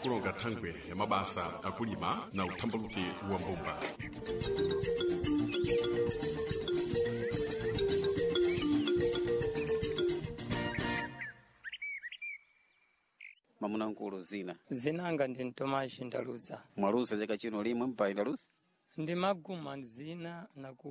Kulonga thangwe ya mabasa akulima na uthambaluke wa mbumba. Mamunankulu zina Zinanga ndi Ntomashi Ndaluza. Mwaluza chaka chino limwe mpayi ndaluza? Ndi maguma zina na ku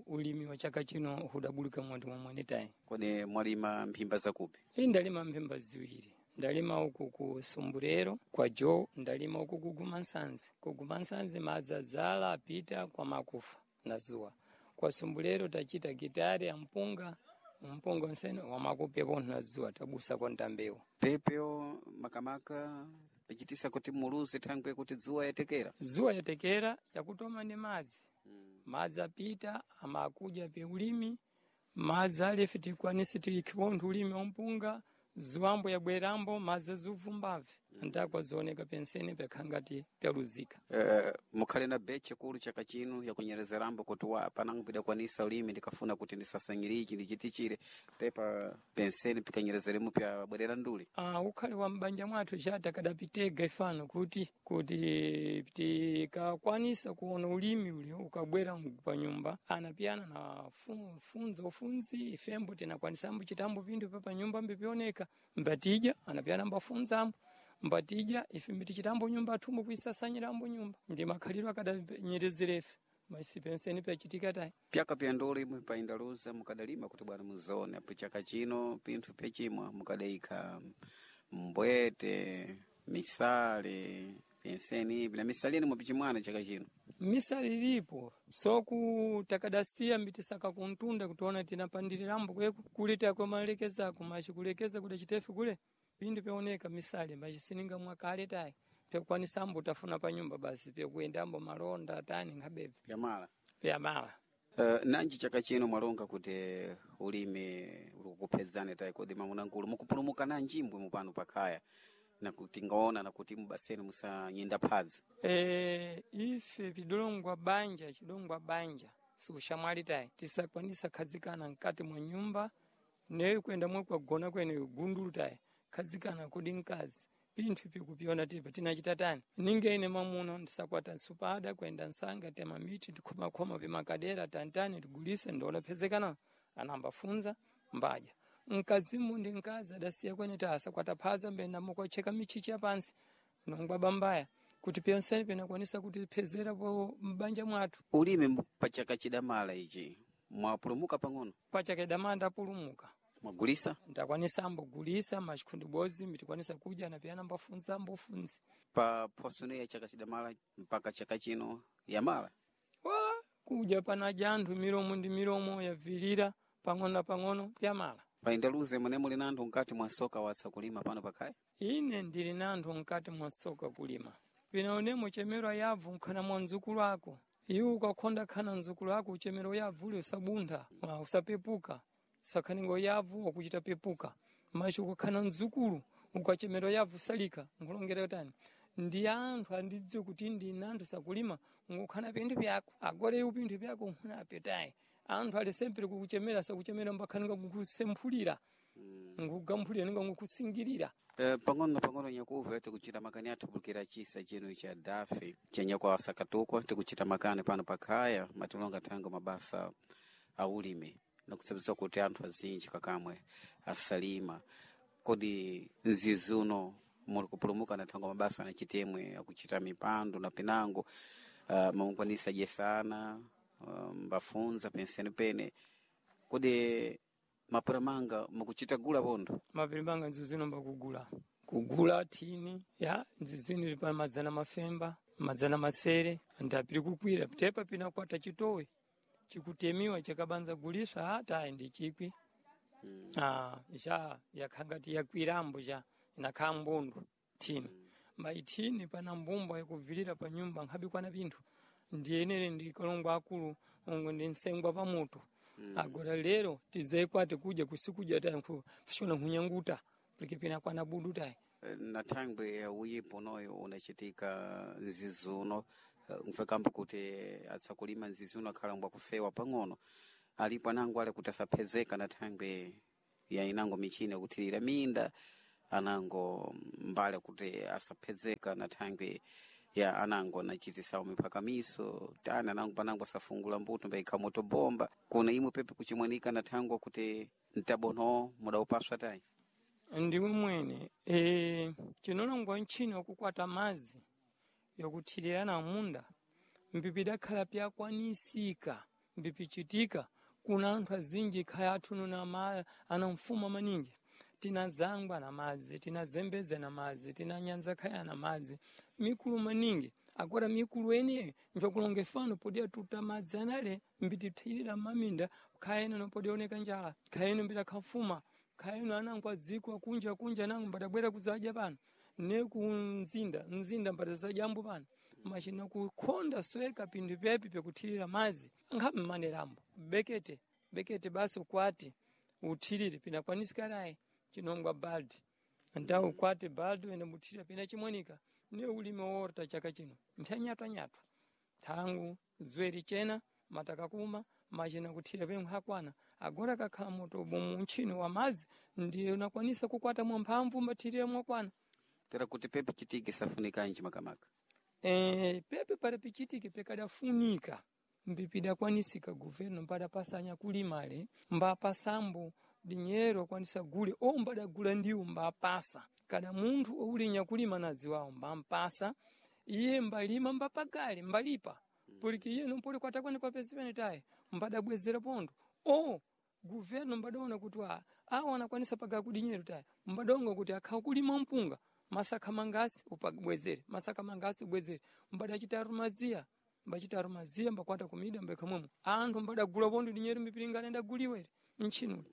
ulimi wa chaka chino hudabulika mwandi mwamwene tayi. Kodi mwalima mphimba zakupi? Iyi ndalima mphimba ziwiri. Ndalima uku ku Sumbulero kwa Joe, ndalima uku kuguma nsanzi. Kuguma nsanzi madzi adzala apita kwa makufa na zuwa. Kwa Sumbulero tachita gitari ya mpunga, mpunga nsene wa makupepo na zuwa tabusa kwa ntambewu. Pepeo makamaka pichitisa kuti muluze thangwe kuti dzuwa yatekera. Zuwa yatekera yakutoma ndi madzi. Madzi apita amakuja pe ulimi, madzi alife tikwanise tikhipontho ulimi wa mpunga, zuwambo yabwerambo madzi azuvumbabve ntakwa zioneka pensene pyakhangati pyaluzika. Mukhale na beche kulu chaka chino yakunyerezerambo kuti wa panango pidakwanisa ulimi ndikafuna kuti ndisasanyirichi ndichitichire tepa penseni pikanyerezeremo pyabwerera nduli. Ah, ukhale wa m'banja mwathu chata kadapitega ifano kuti tikakwanisa kuona ulimi uli ukabwera pa nyumba anapiyana na funza ufunzi ifembo tinakwanisambo chitambo pinthu pa nyumba mbipioneka mbatija anapiyana mbafunzambo mbatija ife mbitichitambo nyumba athumbo kuisasanyirambo nyumba ndi makhalidwe akadanyerezera maisi penseni pyachitika tayi. Pyaka pya nduli imwe paindaluza mukadalima kuti bwana muzone apo chaka chino pinthu pyachimwa mukadayikha mbwete misale penseni ipi na misale ine mwapichimwana chaka chino. Misale ilipo soku takadasiya mbitisaka kuntunda kutiona tinapandirirambo kweku kuli takwamalekezako machi kulekeza kuda chitefe kule pinthu pyaoneka misale machisininga mwakale tayi pyakukwanisambo tafuna pa nyumba basi pyakuyendambo malonda tani nkhabebve Pyamala. pyamala. Nanji chaka chino mwalonga kuti ulimi ulikukuphedzani tayi kodi mamunankulu mukupulumuka nanji mbwe mupano pakhaya nakuti ngaona nakuti mubaseni musanyenda phadzi. Ife pidolongwa banja chidongwa banja sikushamwali tayi tisakwanisa khazikana mkati mwa nyumba neyo kwenda mwe kwagona kwene gundulu tayi khazikana kudi mkazi pinthu pikupiona tipa tinachita tani ninge ine mamuno ndisakwata nsupada kwenda nsanga tema miti tikhomakhoma pimakadera tantani tigulise ndiona phezekana anambafunza mbaja mkazimu ndi mkazi adasiya kwene ta asakwata phaza mbena mukwacheka michichi yapansi nongwa bambaya kuti pyonseni pinakwanisa kutiphezera po m'banja mwathu. Ulimi pachaka chidamala ichi mwapulumuka pang'ono? Pachaka idamala ndapulumuka. Mwagulisa? Ndakwanisa ambogulisa machikhundu bodzi mbitikwanisa kudya napiyana mbafunza mbofunzi. Pa phoso ya chaka chidamala mpaka chaka chino yamala? Wa kudya panaja anthu milomo ndi milomo yavilira pang'ono na pang'ono pyamala. Paindaluze mune muli na anthu mkati mwa soka watsa kulima pano pakhaya? Ine ndili na anthu mkati mwa soka kulima. Pinaonemo chemero yabvu nkhana mwa mdzukulu ako. Iwe ukakhonda khana mdzukulu ako uchemero yabvu uli usabuntha, usapepuka. Sakhaningo yabvu wakuchita pepuka. Machi ukakhana mdzukulu ukachemero yabvu salika nkulongera tani. Ndi anthu andidziwe kuti ndi anthu sakulima ngukhana pinthu pyako. Agora iwe pinthu pyako nkhuna tayi. Anthu ali sempre kukuchemera sakuchemera mbakhaninga kukusemphulira. Ngukugamphulira ninga ngukusingirira. Pang'ono na pang'ono nyakuva tikuchita makani athu pulukira chisa chino cha dafe chenyakwa asakatukwa tikuchita makani pano pakhaya matilonga thango mabasa a ulimi nakutsabisa kuti anthu azinji kakamwe asalima kodi nzizuno muli kupulumuka na thango mabasa na chitemwe akuchita mipando na pinango mamukwanisa jesana mbafunza penseni pene kodi mapuramanga mukuchita gula pondo? Mapirimanga nzuzino mbakugula kugula thini ya nzizino ili pa madzana mafemba madzana masere ndapiri kukwira tepa pinakwata chitowe chikutemiwa chakabanza guliswa tayi ndi chikwi. Ja yakhangati yakwirambo ja inakhala mbundu thini maithini pana mbumba yakuvilira pa nyumba nkhabikwana pinthu ndiyenere ndi kalongo akulu ungu ndi nsengwa pa mutu. Agora lero tizekwate kudya kusikudya tayi fishona nkhunyanguta porque pinakwana budu tayi. Na thangwe ya uyipo noyo unachitika nzizuno mfekambo kuti atsakulima nzizuno akhala mbwakufewa pang'ono alipo anango ale kuti asaphezeka na thangwe ya inango michini yakuthirira minda anango mbali kuti asaphedzeka na thangwi ya anango anachitisawo miphakamiso tani anango panango asafungula mbuto mbaikha moto bomba kuna imwe pepe kuchimwanika na thangwa kuti mtabono mudaupaswa tayi Ndiwe mwene chinolongwa ntchino yokukwata mazi yokuthirira na munda mbipidakhala pyakwanisika mbipichitika kuna anthu azinji khaya athu na ana mfumo maningi tinadzangwa na madzi tinazembedza na madzi tinanyanza khaya na madzi mikulu maningi agora mikulu eneyo njokulonga fano podiya tuta madzi anale mbitithirira maminda khaya ino nopodioneka njala khaya ino mbidakhafuma khaya ino anango adziko akunja akunja anango mbadabwera kuzadya pano ne kumzinda mzinda mbadazajambo pano machina kukhonda sweka pinthu pepi pekuthirira madzi nkhabe mmanerambo bekete bekete basi ukwati uthirire pinakwanisika chinongwa baldi nda ukwate baldi wene muthirira pina chimwanika ne ulimi worta chaka chino mphyanyatwanyatwa thangu zweri chena mataka kuma machina kuthira pemwe hakwana agora kakhala moto bomu ntchino wa madzi ndiye unakwanisa kukwata mwamphamvu mathirira mwakwana tera kuti pepe chitike safunikanji makamaka pepe pali pichitike pekadafunika mbipidakwanisika governo mpadapasanya kulimale mbapasambo dinyero akwanisa gule o mbadagula ndiwo mbapasa kada munthu oulinya kulima nadziwawo mbampasa iye mbalima mbapagale mbalipa poliki iye nompoli kwatakwane papezi pene tayi mbadabwezera pondo o governo mbadaona kuti awa anakwanisa paga kudinyero tayi mbadaonga kuti akhawa kulima mpunga masakha mangasi upabwezere masakha mangasi ubwezere mbadachita rumadziya mbachita rumadziya mbakwata kumida mbekhamwemo anthu mbadagula pondo dinyero mbipilingana ndaguliwa ere mtchinuli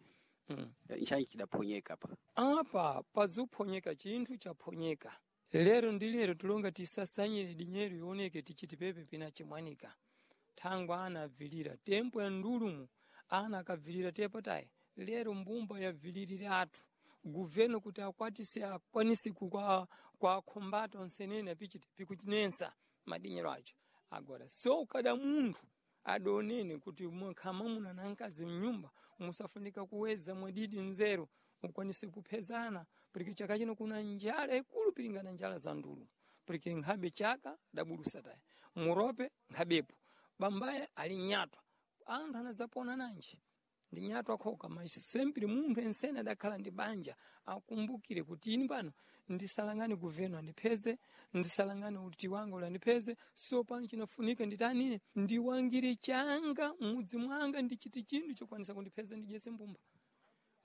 nchanji chidaphonyeka pa apa pazuphonyeka chinthu chaphonyeka lero ndi lero tulonga tisasanyire dinyero ioneke tichiti pepe pina chimwanika thangwa ana abvilira tempo ya ndulumu ana akabvilira tepo tayi lero mbumba yabvilirira athu governo kuti akwatise akwanise kwa khombata onsenene apichiti pikuchinensa madinyero acho agora so kada munthu adonene kuti mwakhama muna na mkazi mnyumba musafunika kuweza mwadidi nzeru mukwanise kuphezana porque chaka chino kuna njala ikulu pilingana njala za ndulu porque nkhabe chaka dabulusa taya murope nkhabepo bambaye ali nyatwa anthu anadzapona nanji ndi nyatwa khoka mas sempre munthu ensene adakhala ndi banja akumbukire kuti ini pano ndisalangane governo andipheze ndisalangane uti wanga ulandipheze so pano chinafunika nditanine ndiwangire changa mudzi mwanga ndichiti chinthu chokwanisa kundipheza ndidyese mbumba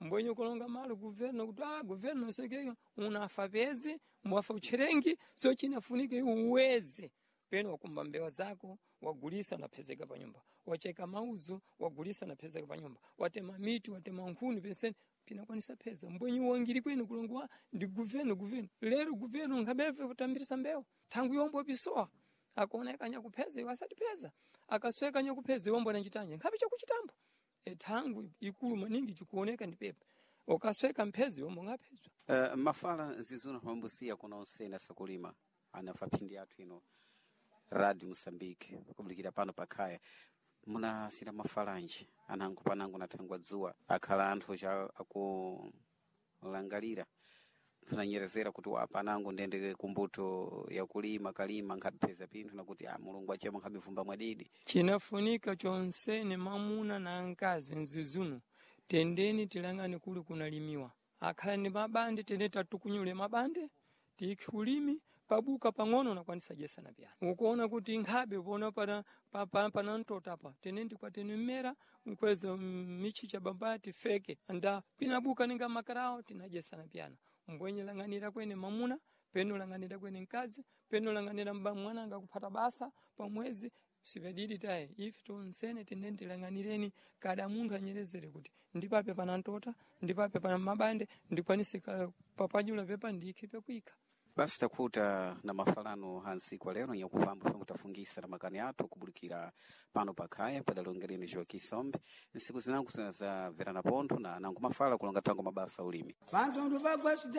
mbwenye kulonga malo governo kuti governo sekeyo unafa pezi mwafa utcherengi so chinafunika iwe uweze peno wakumba mbewa zako wagulisa unaphezeka pa nyumba wacheka mauzu wagulisa unaphezeka pa nyumba watema miti watema nkhuni penseni pinakwanisa pheza mbwenye wangiri kwene kulongwa ndi governo governo lero governo nkhabeve kutambirisa mbewa thangu yombo pisowa akuoneka nyakupheza iwe asatipheza akasweka nyakupheza iwe mbona nchitanje nkhabe chakuchitambo thangu ikulu maningi chikuoneka ndi pepe ukasweka mphezi yomwe ungaphezwa mafala nzizuno pambusiya kuna onsene asakulima anafa phindi athu ino radio Mosambike kubulikira pano pakhaya munasira mafalanji anango panango nathangwa dzuwa akhala anthu cha akulangalira funanyerezera kuti apa anango ndende kumbuto yakulima kalima nkhapheza pinthu nakuti mulungu achema nkhabivumba mwadidi chinafunika chonsene mamuna na mkazi mzizuno tendeni tilangane kuli kunalimiwa akhala ndi mabande tende tatukunyule mabande tikhe ulimi pabuka pang'ono unakwanisa dyesana pyana ukuona kuti nkhabe pona pana pana mtota apa tene ndikwatene mmera nkweza michicha bamba tifeke nda pinabuka ninga makarawo tinadyesana pyana mbwenye lang'anira kwene mamuna peno lang'anira kwene mkazi peno lang'anira mwana anga kuphata basa pamwezi sipedidi tayi ife tonsene tene tilang'anireni kada munthu anyerezere kuti ndipape pana mtota ndipape pana mabande ndikwanise papanyula pepa ndikhe pekuikha basi takhuta na mafalano hansi kwa lero nyakupamba fwe mutafungisa na makani athu kubulikira pano pakhaya padalongereni Joaquim Sombe nsiku zinango za verana pontho na nango mafala kulonga thango mabasa ulimi Vantu bagwa cidade